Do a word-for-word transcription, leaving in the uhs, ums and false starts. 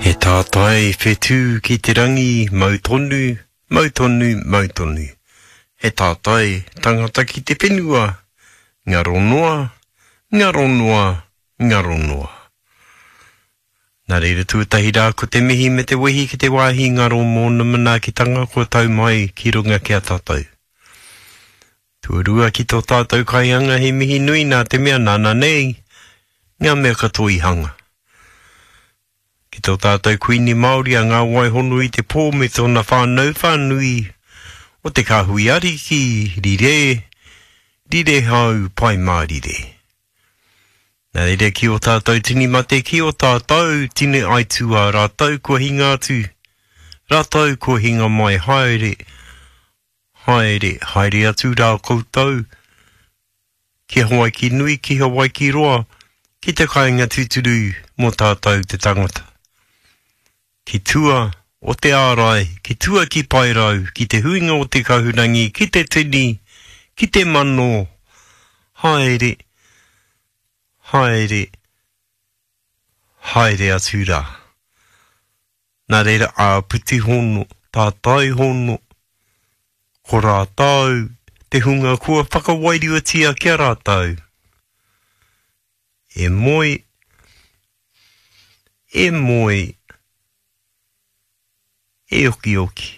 He tātai whetū ki te rangi, mau tonu, mau tonu, mau tonu. He tātai tangata ki te whenua, ngaro noa, ngaro noa, ngaro noa. Nā reira tuatahi rā ko te mihi me te wehi ki te wāhi ngaro mōna manaakitanga kua tau mai ki runga ki a tātou. Tuarua ki tō tātou kaihanga he mihi nui nā te mea nāna nei ngā mea katoa i hanga. Ki tō tātou Kuini Māori a Ngā Wai Hono i te Pō me tōna whānau whānui o te Kāhui Ariki, rire, rire hau, pai mārire. Nā reira ki ō tātou tini mate, ki ō tātou tini aituā, rātou kua hinga atu, rātou kua hinga mai, haere, haere, haere atu rā koutou, ki Hawaiki nui, ki Hawaiki roa, ki te kāinga tūturu mō tātou te tangata. Ki tua o te ārai, ki tua ki Paerau, ki te huinga o te kahurangi, ki te tini, ki te mano, haere, haere, haere atu rā. Nā reira āpiti hono, tātai hono, ko rātou te hunga kua whakawairuatia ki a rātou. E moe, e moe, e okioki.